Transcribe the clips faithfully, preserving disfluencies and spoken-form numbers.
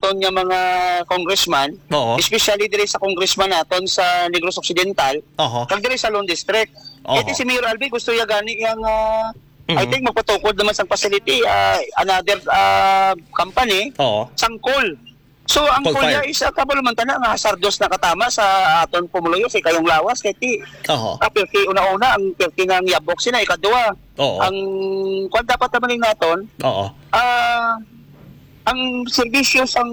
aton nga mga congressman, Oo. especially diri sa congressman naton sa Negros Occidental, Oho. kag diri sa Lone District. Oho. Kay si Mayor Albi gusto ya gani yang, ah, I Mhm. think magpatukod naman sang facility, ah, another, ah, company, Oo. sang coal. So, ang Coal coal fire. niya is, ah, kabalo man tana nga hazardous na katama sa aton pumuluyo, sa ikayong lawas, kay ti, Oho. ah, pirti una-una, ang pirti nga ang yabok sina, ikadua. Oo. Ang, kwan dapat naman yung naton, Oo. ah, ang serbisyo sang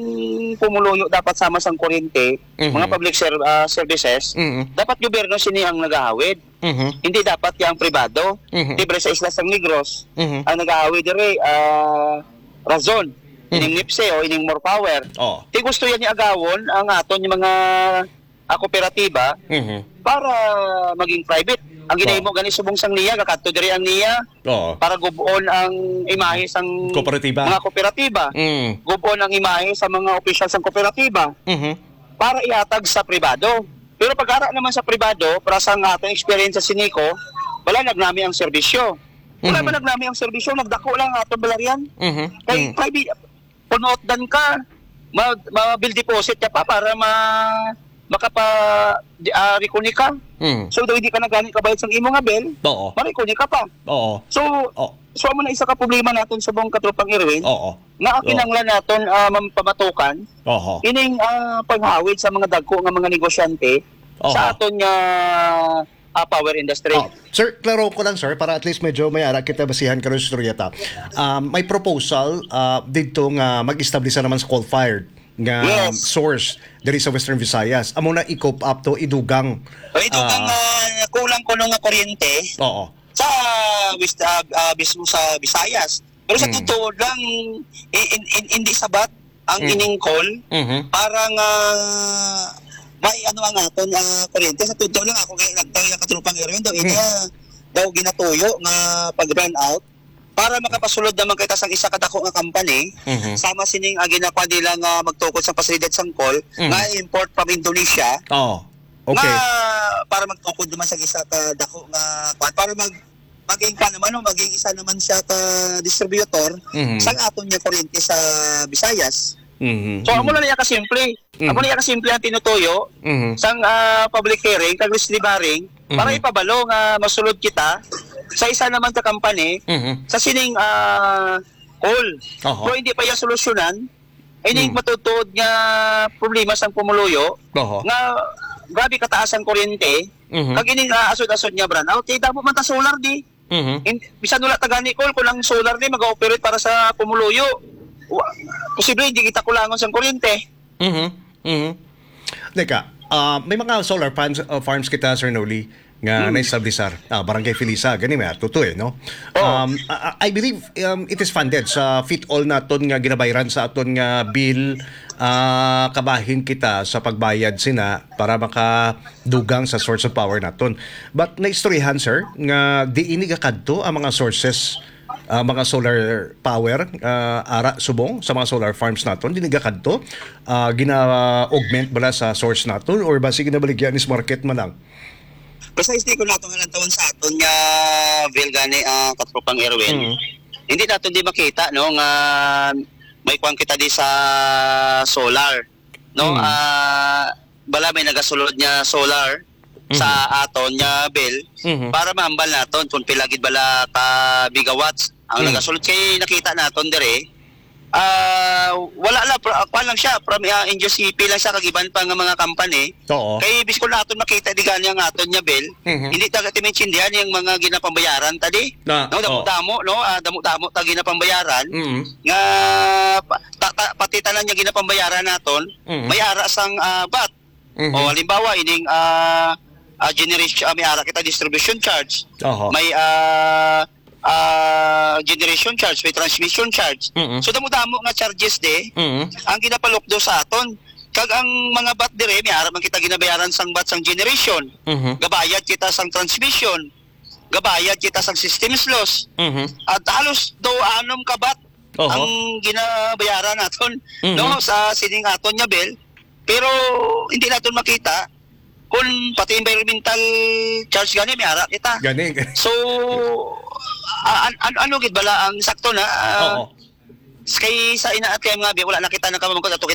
pumuluyo dapat sama sang kuryente, Mhm. mga public ser-, ah, services, Mhm. dapat gobyerno sini ang nagahawid. Mhm. Hindi dapat yang pribado. Mhm. Libre sa isla sang Negros, Mhm. ang nagahawid diri, ah, Razon, Mhm. ining NEPSE o ining More Power. Oh. Ti gusto yan ni agawon ang aton yung mga, ah, kooperatiba Mhm. para maging private. Ang Oh. ginahimo gani subong sang niya, gakadto diri ang niya Oo. para gubon ang imahe sang Kooperatiba. mga kooperatiba. Mm. Gubon ang imahe sa mga opisyal sang kooperatiba Mhm. para ihatag sa pribado. Pero pag ara naman sa pribado, para sa nga atong experience sa Sinico, wala nagnami ang serbisyo. Wala Mhm. man nagnami ang serbisyo, nagdako lang ang atong balaryan. Mhm. Kay Mhm. private, punuot dan ka, mag, ma-bill deposit ka pa para ma, makapa, di, ah, reconnect ka. Mhm. So, daw hindi ka na gani kabayad sa imo nga bill, Oo. ma-reconnect ka pa. Oo. So, Oh. so, amo na isa ka problema naton sa buong katropang Irwin, Oo. nga Oo. kinahanglan naton, ah, mam-, pamatukan Oho. ining, ah, paghawid sa mga dagko nga mga negosyante Oho. sa aton nga, ah, power industry. Oh, sir, klaro ko lang, sir, para at least medyo may ara kita basihan karon sa istorya ta. Um, may proposal, ah, didto nga mag-establish naman sa coal-fired nga Yes. source diri sa Western Visayas. Amo na i-cope up to, idugang. O, idugang, ah, ah, kulang kuno nga kuryente Oo. sa West-, ah, ah, mismo sa Visayas. Pero sa Mm. totoo lang, i-, in-, in-, hindi sabat ang Mm. ining coal Mhm. para nga may ano ang aton, ah, kuryente. Sa totoo lang, ako kay nagtayo ang katropang Erwin daw, Mm. ina daw ginatuyo nga pag-run out para makapasulod naman kita sang isa ka dako nga company, Mhm. sama sining, ah, ginakuha nila nga magtukod sa pasilidad sang coal Mm. nga import from Indonesia, Oo. Okay. nga para magtukod naman sa isa ka dako nga kuwan, para mag-, maging pa naman, no, maging isa naman siya ka distributor Mhm. sa aton nga kuryente sa Visayas. Mhm. So, amo Mhm. na niya kasimple. Mhm. Amo na niya kasimple ang tinutuyo Mhm. sang, ah, public hearing, kag lease delivering, para Mhm. ipabalo nga masulod kita sa isa naman ka company Mhm. sa sining, ah, coal. Oho. Pero hindi pa iya solusyonan, ining Mhm. matutuod nga problema sang pumuluyo, Oho. nga grabe kataas ang kuryente, Mhm. kag ining, ah, asod-asod nga brownout, kay damo man ta solar di. Mhm. In-, bisan wala ta gani coal, kung ang solar ni mag-ooperate para sa pumuluyo, wa-, posible hindi kita kulangon sang kuryente. Mhm. Mhm. Teka, ah, may mga solar farms, ah, farms kita, Sir Noli, nga Hmm. na-establisar. Ah, Barangay Felisa, gani may ato to eh, no? Oh. Um, I, I believe, um, it is funded sa fit all naton nga ginabayran sa aton nga bill, ah, kabahin kita sa pagbayad sina para makadugang sa source of power naton. But naistoryahan, sir, nga di ini gakadto ang mga sources, ah, mga solar power, ah, ara subong sa mga solar farms naton, di ini gakadto, ah, gina-augment bala sa source naton or basi ginabaligya ni sa market man lang? Precisely kung nato nga lantawon sa aton nga bill gani, ah, katropang Erwin, Mm. hindi naton di makita, no, nga may kuwan kita di sa solar, no? Mm. Ah, bala may nagasulod nga solar sa Mhm. aton nga bill Mhm. para mahambal naton kung pila gid bala ka megawatts ang Mhm. nagasulod. Kay nakita naton dire, ah, wala lang, pro-, ah, kuwan lang siya, from, ah, N G O C P lang siya, kag iban pa nga mga company. Oo. Kay biskon naton makita di gani ang aton nga bill, Mhm. hindi ta gati maintindihan yung mga ginapambayaran ta di. Na, No, oo. damo-damo, no? Ah, damo-damo ta ginapambayaran Mhm. nga pa-, ta-, ta-, pati tanan nga ginapambayaran naton, Mhm. may ara sang, ah, vat. Mhm. O, halimbawa, ining, ah, ah, generation, ah, may ara kita distribution charge. Oho. May, ah, ah, generation charge, may transmission charge. Mm-mm. So, damo-damo nga charges di Mm-mm. ang ginapalukdo sa aton. Kag ang mga vat dire, may ara man kita ginabayaran sang vat sang generation. Mhm. Gabayad kita sang transmission. Gabayad kita sang systems loss. Mhm. At halos do anom ka vat Oho. ang ginabayaran naton, Mhm. no, sa sining aton nga bill. Pero hindi naton makita kung pati environmental charge gani may ara kita. Gani, gani. So, a-, an-, an-, ano gid bala ang sakto na, ah, Oo. kay sa ina at kay mga bi-, wala na kita nakamamangkot ato kita